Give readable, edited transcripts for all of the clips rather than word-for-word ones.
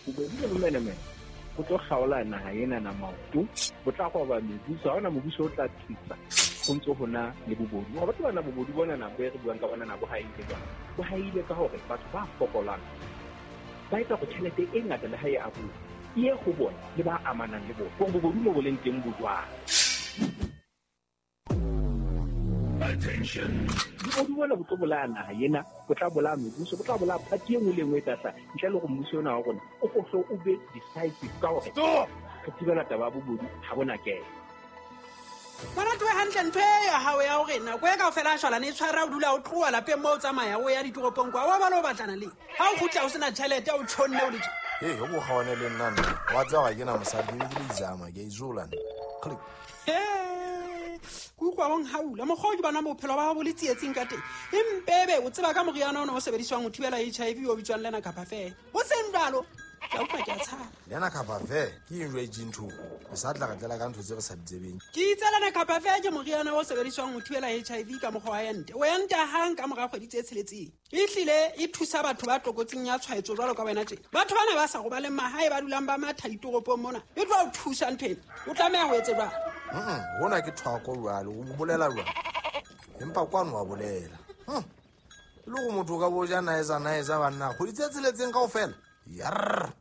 Bobodu le bomenemene bo tlo kgaola naha ena na maoto, bo tla roba mebuso. Ha hona mobuso o tla tsitsa ho ntso ho na le bobodu. Wa batho bana bobodu bona na bo re buang ka bona na bo haile jwang? Bo haile ka hore batho ba fokolang ba etsa hore tjhelete e ngata le ha e abuwa e ye ho bona le ba amanang le bona. Hore bobodu mo bo leng teng bo jwang. Attention. Bobodu bona bo tlo bolaya naha ena, bo tla bolaya mebuso, bo tla bolaya party e nngwe le e nngwe e tla hlaha ntle le hore mmuso ona wa rona o ko hle o be decisive ka hore Stop. re thibela taba ya bobodu ha bona kena. Ngwana toe hantle ntho e ya hao ya hore nako e kaofela a shwalane e tshwara o dula o tloha lapeng mo o tsamaya o ya ditoropong kwa wa bala o batlana le ha o kgutla o sena tjhelete o tjhonne o le tje. Ee, o ko kgaone le nna nna wa tseba ga ke na mosadi, ke be ke le izama ke a izola nna. Click. He, ke utlwa o nhaula mokgwa o ke bona bophelo ba hao bo le tsietsing ka teng. Empebe o tseba ka moriana ona o sebediswang ho thibela HIV o bitswang Lena Kapa Fe. Ho seng jwalo, ke a utlwa ke a tshaba. Lena Kapa Fe ke eng jwa itseng ntho? Re sa tla re tlela ka ntho tse re sa di tsebeng. Ke itse Lena Kapa Fe ke moriana o sebediswang ho thibela HIV ka mokgwa wa ente. O enta hang ka mora kgwedi tse tsheletseng. Ehlile e thusa batho ba tlokotsing ya tshwaetso jwalo ka wena tjena. Batho bana ba sa robaleng mahae ba dulang ba matha ditoropong mona, e tlo o thusa ntho ena. O tlameha ho etse jwang? Hona ke thwako jwale, o bolela jwang? Empa kwano wa bolela. E le gore motho o ka bo ja naetsa naetsa banna kgwedi tse tsheletseng kaofela. Yarr.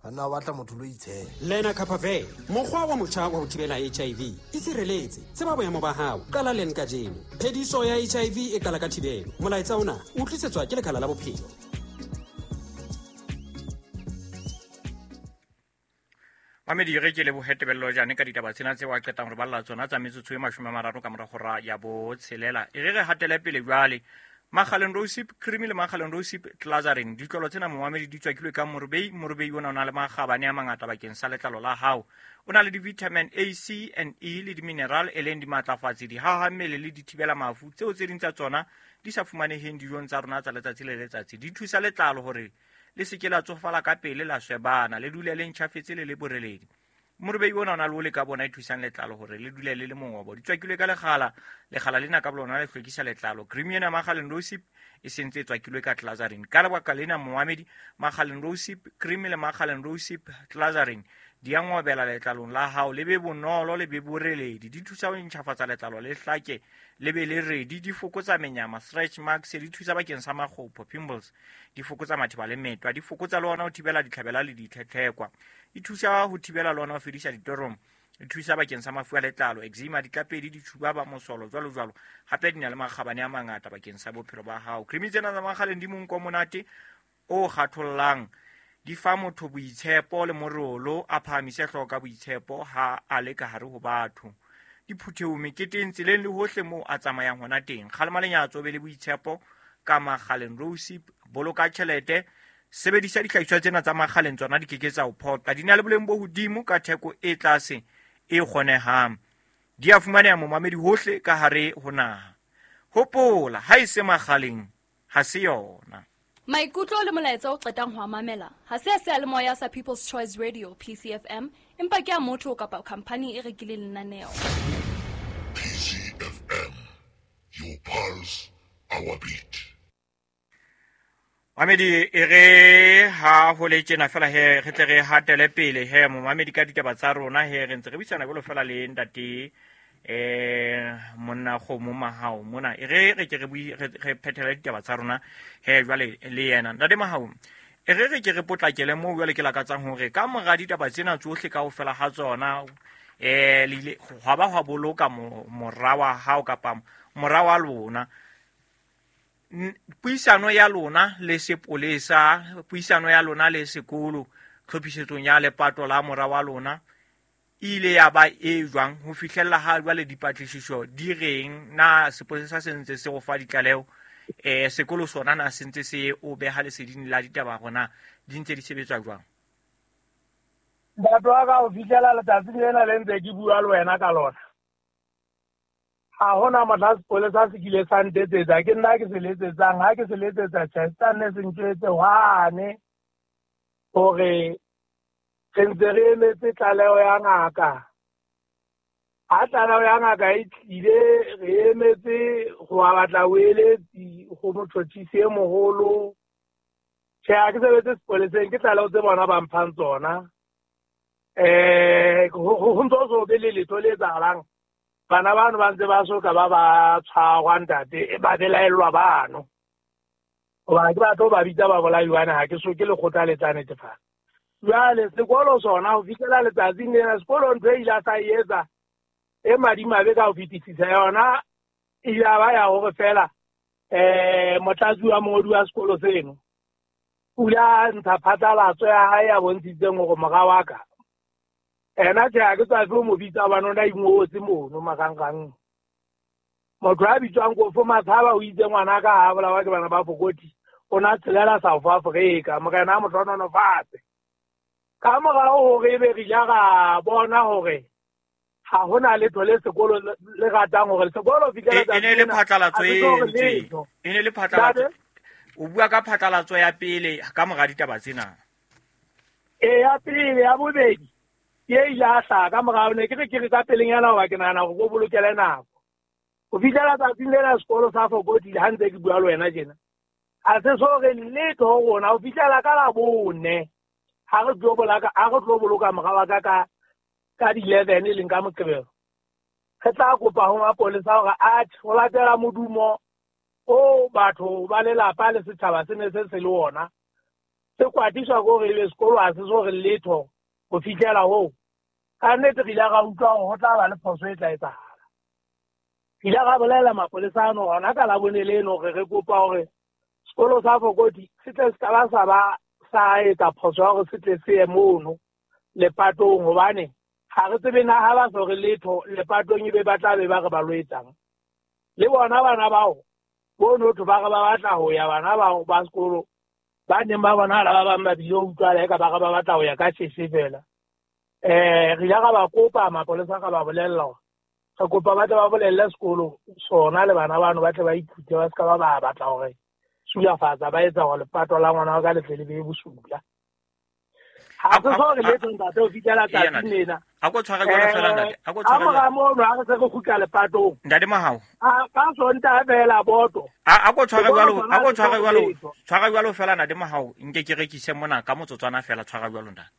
Banna ba batla motho lo itshela. Lena Kapa Fe, mokgwa wa motjha wa ho thibela HIV. Itshireletse, tseba boemo ba hao, qala len kajeno. Phediso ya HIV e qala ka thibelo. Molaetsa ona o tlisetswa ke Lekala la Bophelo. Mamedi, re ke lebohe Tebello Jane ka ditaba tsena tseo a qetang ho re balla tsona tsa metsotso e 30 ka mora hora ya botshelela. E re re hatele pele jwale. Makgaleng Rosip Cream le Makgaleng Rosip Glazarin, ditlolo tsena momamedi di tswakilwe ka morobei. Morobei ona o na le makgabane a mangata bakeng sa letlalo la hao. O na le di-vitamin A, C and E le di-mineral e leng dimatlafatsi, dihaha mmele le dithibela mafu tseo tse ding tsa tsona di sa fumaneheng dijong tsa rona tsa letsatsi le letsatsi. Di thusa letlalo hore le se ke la tsofala ka pele, la swebana, le dule le ntjhafetse le le boreledi. Morobei ona o na le ole ka bona e thusang letlalo hore le dule le le mongobo. Di tswakilwe ka lekgala, lekgala lena ka bolona le hlwekisa letlalo. Cream ena Makgaleng Rosip e sentse e tswakilwe ka Glazarin. Ka lebaka lena momamedi, Makgaleng Rosip Cream le Makgaleng Rosip Glazarin di a ngobela letlalong la hao, le be bonolo, le be boreledi. Di thusa ho ntjhafatsa letlalo le hlake, le be le redi. Di fokotsa menyama, stretch marks, di thusa bakeng sa makgopho, pimples. Di fokotsa matheba le metwa, di fokotsa le ona ho thibela ditlhabela le ditlhetlhekwa. Di thusa ho thibela le ona ho fedisa ditorong. Di thusa bakeng sa mafu a letlalo, eczema, ditlapedi, ditšhuba ba mosolo, jwalo jwalo. Hape di na le makgabane a mangata bakeng sa bophelo ba hao. Cream tsena tsa Makgaleng di monko o monate o kgathollang. Di fa motho boitshepo le morolo, a phahamise hlooho ka boitshepo ha a le ka hare ho batho. Diphuthehong, meketeng, tseleng le hohle moo a tsamayang hona teng. Kgalema lenyatso, be le boitshepo ka Makgaleng Rosip. Boloka tjhelete, sebedisa dihlahiswa tsena tsa Makgaleng, tsona di ke ke tsa o phoqa. Di na le boleng bo hodimo ka theko e tlase e kgonehang. Di a fumaneha momamedi hohle ka hare ho naha. Hopola, ha e se Makgaleng, ha se yona. Maikutlo le molaetsa o qetang ho a mamela ha se a seyalemoya sa People's Choice Radio PCFM, empa ke a motho kapa khamphani e rekileng lenaneo. PCFM, your pulse, our beat. Mamedi, e re ha ho le tjena fela he, re tle re hatele pele he, momamedi ka ditaba tsa rona he, re ntse re buisana jwalo fela le ntate monna Kgomo Mahao mona. E re re ke re bui, re, re phethele ditaba tsa rona he jwale le yena. Ntate Mahao, e re re ke re potlakele moo jwale ke lakatsang hore ka mora ditaba tsena tsohle kaofela ha tsona, le ile hwa ba hwa boloka mora wa hao kapa mora wa lona. Puisano ya lona le sepolesa, puisano ya lona le sekolo, tlhophisetsong ya lepato la mora wa lona, e ile ya ba e jwang ho fihlella ha jwale dipatlisiso di reng? Na sepolesa se ntse se go fa ditlaleho? Sekolo sona na se ntse se o beha leseding la ditaba hore na di ntse di sebetswa jwang? Ntate wa ka, ho fihlela letsatsing lena le ntse ke bua le wena ka lona, ha hona mohla sepolesa se kile sa ntetsetsa. Ke nna ke se letsetsang. Ha ke se letsetsa, tjhe, se tla nne se ntjwetse hwane hore re ntse re emetse tlaleho ya ngaka. Ha tlaleho ya ngaka e tlile, re emetse ho batla boeletsi ho motjhotjhisi e moholo. Tjhe, ha ke sebetse sepoleseng, ke tlaleho tse bona ba mphang tsona. Ho ntso so be le letho le etsahalang. Bana bano ba ntse ba soka ba ba tshwarwa ntate, ba belaellwa bano. Hoba ke batho ba bitsa ba bolaiwa ha ke so ke lekgotla le tla netefatsa. Jwale sekolo sona ho fihlela letsatsing lena, sekolo ntho e ile sa etsa e madimabe ka ho fetisisa yona e ile ba ya hore fela motlatsi wa mongodi wa sekolo seno o ile a ntsha phatlalatso ya hae ya bontshitseng hore mora wa ka ena tjhe ha ke tswafe ho mo bitsa hobane o na ingotse mono marangrang. Motho a bitswang Kofo Matshaba o itse ngwana ka ha bolawa ke bana ba Fokoti, o na tshelela South Africa, morena a mo hlohonolofatse. Ka morao hore ebe re ile ra bona hore ha hona letho le sekolo le ratang hore sekolo fihlela e ne le phatlalatso e e ne le phatlalatso. O bua ka phatlalatso ya pele ka mora ditaba tsena. E ya pele, ya bobedi ke e ile a hlaha ka morao, ne ke re ke re ka pelenyana hoba ke nahana hore ko bolokele nako. Ho fihlela tsatsing lena sekolo sa Fokoti ha ntse ke bua le wena tjena, ha se so re letho ho rona ho fihlela ka Labone ha re tlo boloka mora wa ka ka di-11 e leng ka Moqebelo. Re tla kopa ho mapolesa hore atjhe ho latela modumo o batho ba lelapa le setjhaba se ne se se le ona, se kwatiswa ke hore ebe sekolo ha se so re letho ho fihlela hoo. Ka nnete re ile ra utlwa hore ho tla ba le phoso e tla etsahala. Re ile ra bolella mapolesa ano hona ka Labone leno hore re kopa hore sekolo sa Fokoti se tle se ka ba sa ba sa etsa phoso ya hore se tle se ye mono lepatong, hobane ha re tsebe na ha ba so re letho lepatong ebe ba tla be ba re ba lo etsang. Le bona bana bao bono thwe ba re ba batla ho ya, bana bao ba sekolo ba neng ba bonahala ba bang ba bile ho utlwala eka ba re ba batla ho ya ka sheshe fela. Re ile ra ba kopa mapolesa, ra ba bolella hore re kopa ba tle ba bolelle sekolo sona le bana bano ba tle ba ithute, ba se ka ba ba batla hore sulafatsa ba etsa hore lepato la ngwana wa ka le tle le be bosula. Ha se so re letho ntate ho fihlela tsatsing lena. A ko tshware jwalo fela ntate, a ko tshware. Ka mora mono ha re se re kgutla lepatong. Ntate Mahao. A ka Sontaha fela boto. A ko tshware jwalo, a ko tshware jwalo, tshwara jwalo fela ntate Mahao, nke ke rekise mona ka motsotswana fela, tshwara jwalo ntate.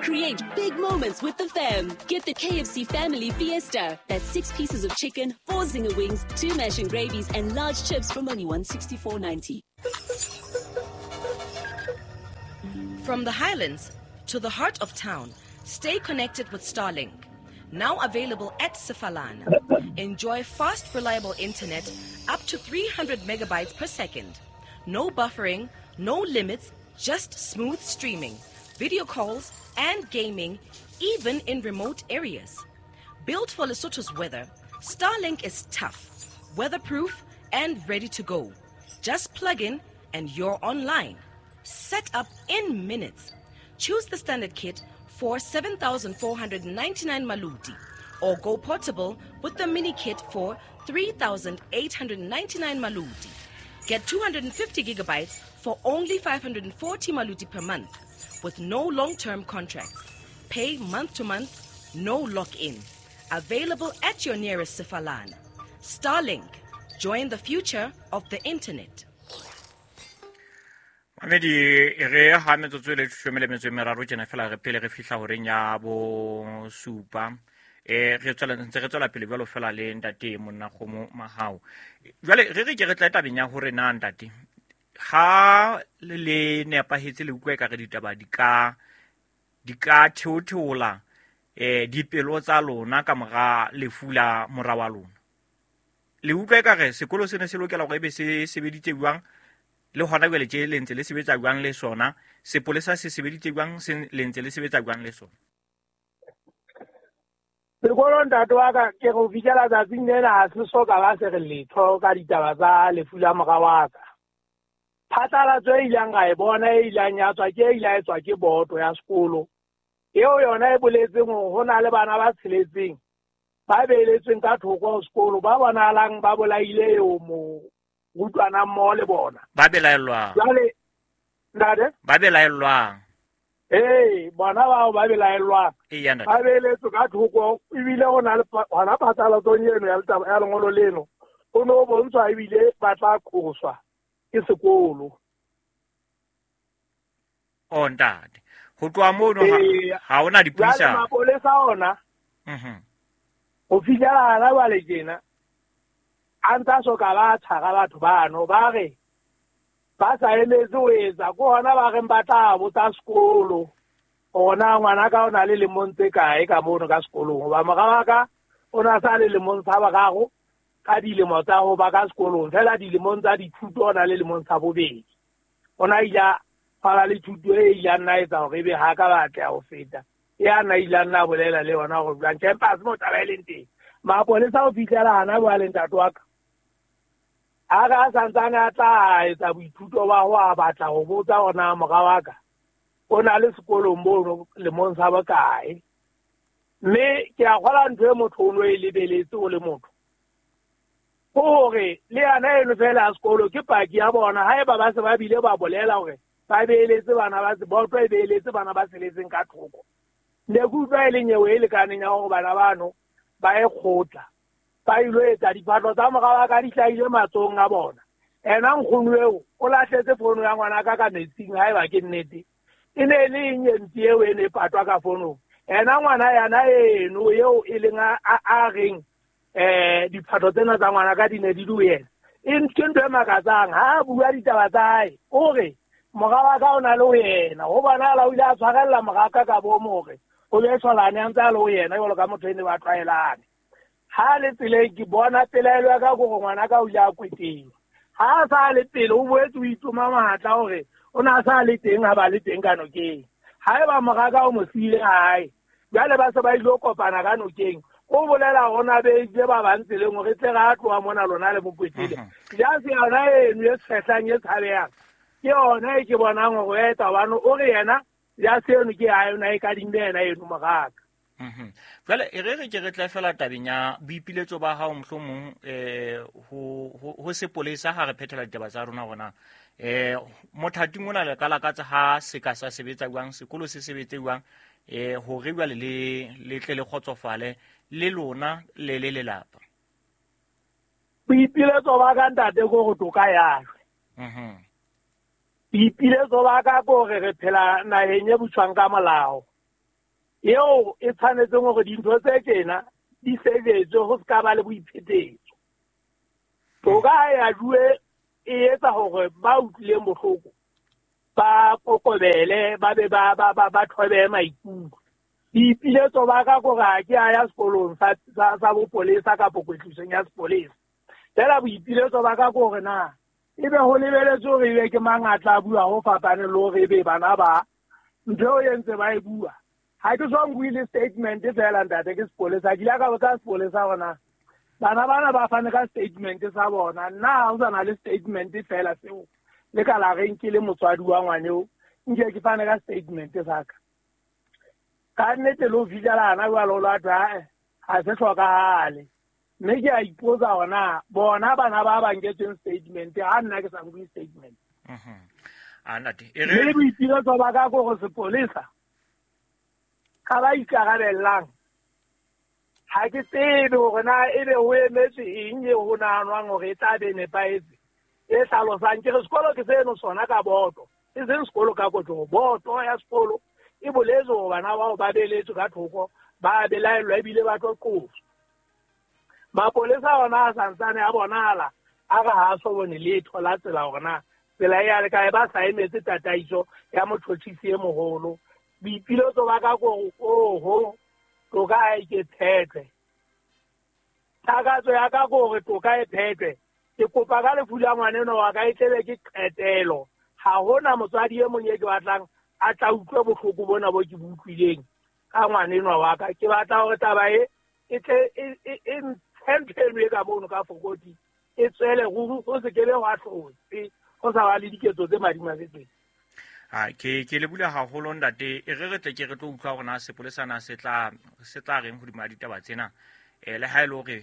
Create big moments with the fam. Get the KFC Family Fiesta. That's 6 pieces of chicken, 4 zinger wings, 2 mash and gravies, and large chips from only $164.90. From the Highlands to the heart of town, stay connected with Starlink. Now available at Sefalana. Enjoy fast, reliable internet up to 300 megabytes per second. No buffering, no limits, just smooth streaming, video calls, and gaming, even in remote areas. Built for Lesotho's weather, Starlink is tough, weatherproof, and ready to go. Just plug in and you're online. Set up in minutes. Choose the standard kit for 7,499 maluti, or go portable with the mini kit for 3,899 maluti. Get 250 gigabytes for only 540 maluti per month, with no long-term contracts. Pay month to month, no lock-in. Available at your nearest Sefalana. Starlink, join the future of the internet. Mamedi re ha metsotso le leshome le metso e meraro tjena fela re pele re fihla horeng ya bo supa. Re tswela ntse re tswela pele jwalo fela le ntate monna Kgomo Mahao. Jwale re re ke re tla tabeng ya hore na ntate ha le nepahetse le utlwe ka re ditaba di ka theotheola dipelo tsa lona ka mora lefu la mora wa lona. Le utlwe ka re sekolo sene se lokela hore ebe se sebeditse jwang, le hona jwale tje le ntse le sebetsa jwang le sona, sepolesa se sebeditse jwang, se le ntse le sebetsa jwang le sona. Sekolo ntate wa ka ke go fihlela tsatsing lena ha se so ka ba se re letho ka ditaba tsa lefu la mora wa ka. Phatlalatso e ileng ra e bona e ileng ya tswa ke e ile ya tswa ke boto ya sekolo eo yona e boletseng hore ho na le bana ba tsheletseng ba beeletsweng ka thoko ho sekolo ba bonahalang ba bolaile eo morutwana mmoho le bona. Ba belaellwang. Jwale ntate? Ba belaellwang. Ee, bona bao ba belaellwang. Ba beeletswe ka thoko ebile ho na le hona phatlalatsong eno ya ya lengolo leno ho no bontshwa ebile ba tla qoswa ke sekolo. O ntate, ho tloha mono ha hona dipuisano. Mapolesa ona ho fihlela hana jwale tjena a ntsa soka ba tshwara batho bano, ba re ba sa emetse ho etsa ke hona ba reng ba tla botsa sekolo hore na ngwana ka o na le lemong tse kae ka mono ka sekolong, hoba mora wa ka o na sa le lemong sa boraro ka dilemo tsa ho ba ka sekolong, fela dilemong tsa dithuto o na le lemong sa bobedi. O na ile a fala le thuto e ile a nna etsa hore ebe ha ka ba atleha ho feta ya na ile a nna bolela le yona hore jwang. Tjhe, empa ha se mo taba e leng teng. Mapolesa ho fihlela hana jwale ntate wa ka a re a santsane a tla etsa boithuto ba ho a batla ho botsa hore na mora wa ka o na le sekolong mono lemong sa bokae. Mme ke a kgola ntho e motho o no e lebeletse o le motho, ke hore le yana eno fela ya sekolo ke paki ya bona. Haeba ba se ba bile ba bolela hore ba beeletse bana ba boto e beeletse bana ba seletseng ka thoko, ne ke utlwa e le nyewe e lekaneng ya hore bana bano ba e kgotla ba ilo etsa diphahlo tsa mora wa ka di hlahile matsohong a bona. Ena nkgono eo o lahletse fono ya ngwana ka ka metsing, haeba ke nnete e ne e le eng e mpe eo e ne e patwa ka fonong. Ena ngwana yana eno eo e leng a reng diphahlo tsena tsa ngwana ka di ne di le ho yena, e ke ntho e makatsang. Ha a bua ditaba tsa hae o re mora wa ka o na le ho yena, ho bonahala o ile a tshwarella mora ka ka bomo hore o be shwalane a ntse a le ho yena jwalo ka motho e ne ba tlwaelane. Ha le tseleng ke bona pelaelo ya ka ke hore ngwana ka o ile a kweteng. Ha a sa le pele o boetse o itoma mahatla hore o na sa le teng ha ba le teng ka nokeng. Haeba mora ka o mo siile hae, jwale ba se ba ilo kopana ka nokeng, o bolela hore na beile ba bang tseleng hore tle re a tloha mona lona le mo kwetile. Jase yona eno e tshehlang e tshabehang ke yona e ke bonang hore o etsa hobane o re yena jase eno ke ya yona e kadimme yena eno moraka. Jwale e re re ke re tle fela tabeng ya boipiletso ba hao mohlomong ho sepolesa ha re phethela ditaba tsa rona hore na mothating ona le ka lakatsa ha se ka sa sebetsa jwang, sekolo se sebetse jwang, hore jwale le tle le kgotsofale le lona le le lelapa. Boipiletso ba ka ntate ke hore toka ya shwe. Boipiletso ba ka ke hore re phela naheng e buswang ka molao eo e tshwanetseng hore dintho tse tjena di sebetswe ho se ka ba le boiphetetso. Toka ha ya juwe e etsa hore ba utlwileng bohloko ba kokobele, ba be ba thobehe maikutlo. Boipiletso ba ka ke hore ha ke a ya sekolong sa bopolesa kapa kwetlisong ya sepolesa. Fela boipiletso ba ka ke hore na ebe ho lebeletswe hore ebe ke mang a tla bua ho fapane le hore ebe bana ba ntho eo e ntse ba e bua. Ha ke so nkuwe le statement fela ntate ke sepolesa, ke ile ka botsa sepolesa hore na bana bana ba fane ka statement sa bona, nna ha ho sa na le statement fela seo le ka la reng ke le motswadi wa ngwaneo nke ke fane ka statement sa ka. Ka nnete le ho fihlela hana jwale o la thwe ae ha se hlokahale. Mme ke a ipotsa hore na bona bana ba ba nketseng statement ha nna ke sa nkuwe statement. A ntate, e Mme re boipiletso ba ka ke hore sepolesa ka ba ikarabellang ha ke tsebe hore na ebe ho emetswe eng eo ho nahanwang hore e tla be nepahetse e hlalosang. Ke re sekolo ke seno sona ka boto, e seng sekolo ka kotloho. Boto ya sekolo e boletse hore bana bao ba beletswe ka thoko, ba belaellwa ebile ba tlo qoswa. Mapolesa ona a santsane a bonahala a re ha a so bone letho la tsela hore na tsela e ya le kae, ba sa emetse tataiso ya motjhotjhisi e moholo. Boipiletso ba ka ke hore oho toka ha e ke phethwe. Takatso ya ka ke hore toka e phethwe. Ke kopa ka lefu la ngwaneno wa ka e tlebe ke qetelo. Ha hona motswadi e mong e ke batlang a tla utlwe bohloko bona bo ke bo utlwileng ka ngwanenwa wa ka. Ke batla hore taba e e tle e ntshe ntho eno e ka mono ka fokoti e tswele ruri, ho se kebe hwa hlotse ho sa ba le diketso tse madimabe tsena. Ke le bula haholo ntate, e re re tle ke re tlo utlwa hore na sepolesa na se tla reng hodima ditaba tsena. Le ha e le hore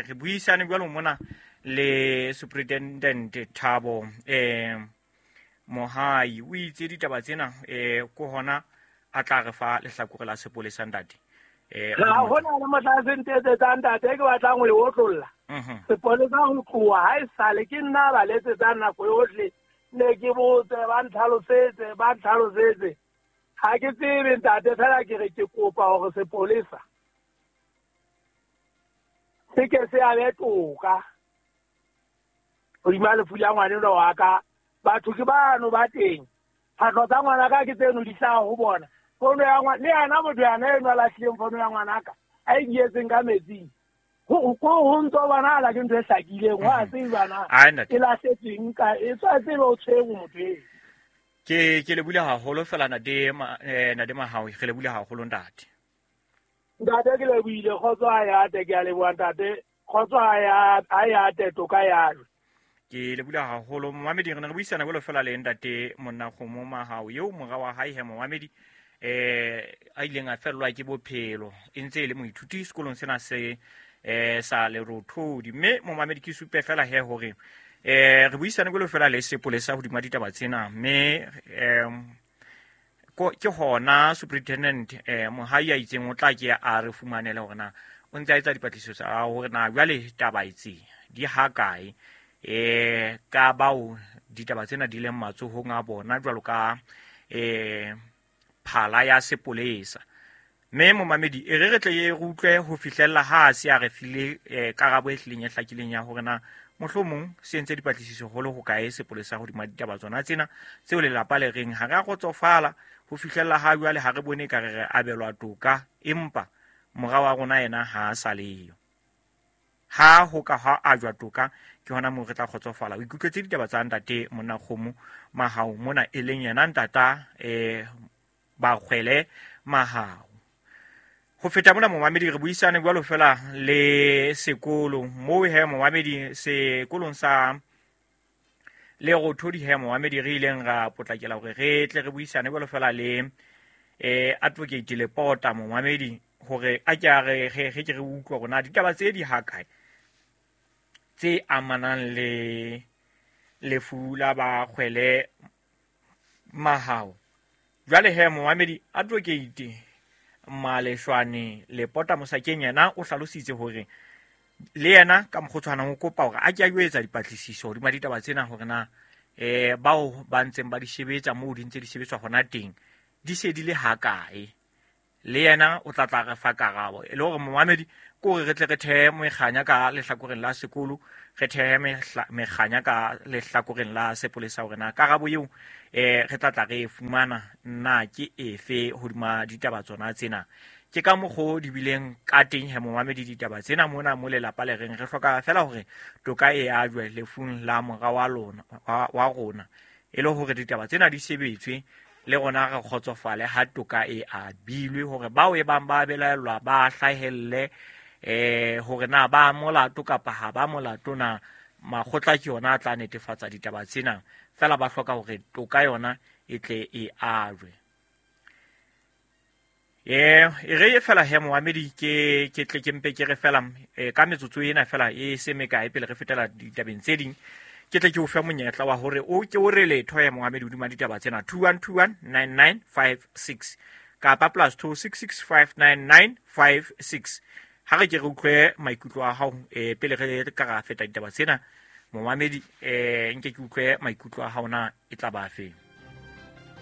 re buisane jwalo mona le Superintendent Thabo Mohai, o itse ditaba tsena ko hona a tla re fa lehlakore la sepolesa ntate. Ha hona le mohla se ntetsetsang ntate ke batlang ho e otlolla. Sepolesa ho tloha ha e sale ke nna ba letsetsang nako yohle Ne ke botse ba ntlhalosetse ha ke tsebe ntate fela ke re ke kopa hore sepolesa se ke se abe toka hodima lefu la ngwanenwa wa ka. Batho ke bano ba teng, phahlo tsa ngwana ka ke tseno di hlaha ho bona. Fono ya ngwana le yena motho yana eno a lahlileng fono ya ngwana ka a e dietseng ka metsing, ho ntso bonahala ke ntho e hlakileng, wa tseba na e lahletsweng ka e tswa tsebe o tshwere motho eo. Ke le bule haholo fela Nade Mahao, re le bule haholo ntate. Ntate ke le buile, kgotso ha ya ate, ke a leboha ntate, kgotso ha ya ate, toka ya. Ke le bula haholo momamedi, re ne re buisana jwalo fela le ntate Monnakgomo Mahao eo mora wa hae he momamedi a ileng a fellwa ke bophelo e ntse e le moithuti sekolong sena se sa Lerothodi. Mme momamedi ke supe fela he hore re buisane jwalo fela le sepolesa hodima ditaba tsena, mme ke hona superintendent Mohai a itseng o tla ke a re fumanele hore na o ntse a etsa dipatlisiso tsa hore na jwale taba itse di ha kae ka bao ditaba tsena di leng matsohong a bona jwalo ka phala ya sepolesa. Mme momamedi e re tle re utlwe ho fihlella ha se a re file karabo e hlileng e hlakileng ya hore na mohlomong se entse dipatlisiso holo ho kae sepolesa hodima ditaba tsona tsena tseo lelapa le reng ha re a kgotsofala ho fihlella ha jwale, ha re bone ka re abelwa toka, empa mora wa rona yena ha a sa leyo. Ha ho ka ha ajwa toka ke hona moo re tla kgotsofala. O ikutlwetse ditaba tsa ntate Monnakgomo Mahao mona e leng yena ntata Bakgwele Mahao. Ho feta mona momamedi re buisane jwalo fela le sekolo moo he momamedi sekolong sa Lerothodi he momamedi re ileng ra potlakela hore re tle re buisane jwalo fela le advocate Lepota momamedi hore a ke a re re ke re utlwe hore na ditaba tse di ha kae tse amanang le lefu la Bakgwele Mahao. Jwale he momamedi advocate Maleshwane Lepota Mosakeng yena o hlalositse hore le yena ka mokgotshwana o kopa hore a ke a yo etsa dipatlisiso hodima ditaba tsena hore na bao ba ntseng ba di shebetsa moo di ntse di sebetswa hona teng di se di le ha kae. Le yena o tla tla re fa karabo e le hore momamedi ke hore re tle re thehe mekganya ka lehlakoreng la sekolo, re thehe mekganya ka lehlakoreng la sepolesa hore na karabo eo re tla tla re e fumana na ke efe hodima ditaba tsona tsena. Ke ka mokgo di bileng ka teng he momamedi ditaba tsena mona mo lelapa le reng re hloka fela hore toka e ajwe lefung la mora wa lona wa rona, e le hore ditaba tsena di sebetswe le rona re kgotsofale ha toka e abilwe hore bao e bang ba belaellwa ba hlahelle hore na ba molato kapa ha ba molato na. Makgotla ke yona a tla netefatsa ditaba tsena, fela ba hloka hore toka yona e tle e ajwe. E re fela he momamedi ke tle ke mpe ke re fela ka metsotso ena fela e se mekae pele re fetela ditabeng tse ding, ke tle ke o fe monyetla wa hore o ke o re letho ya momamedi hodima ditaba tsena 21219956 kapa +26659956. Ha re ke re utlwe maikutlo a hao pele re ka ra feta ditaba tsena momamedi, nke ke utlwe maikutlo a hao na e tla ba feng.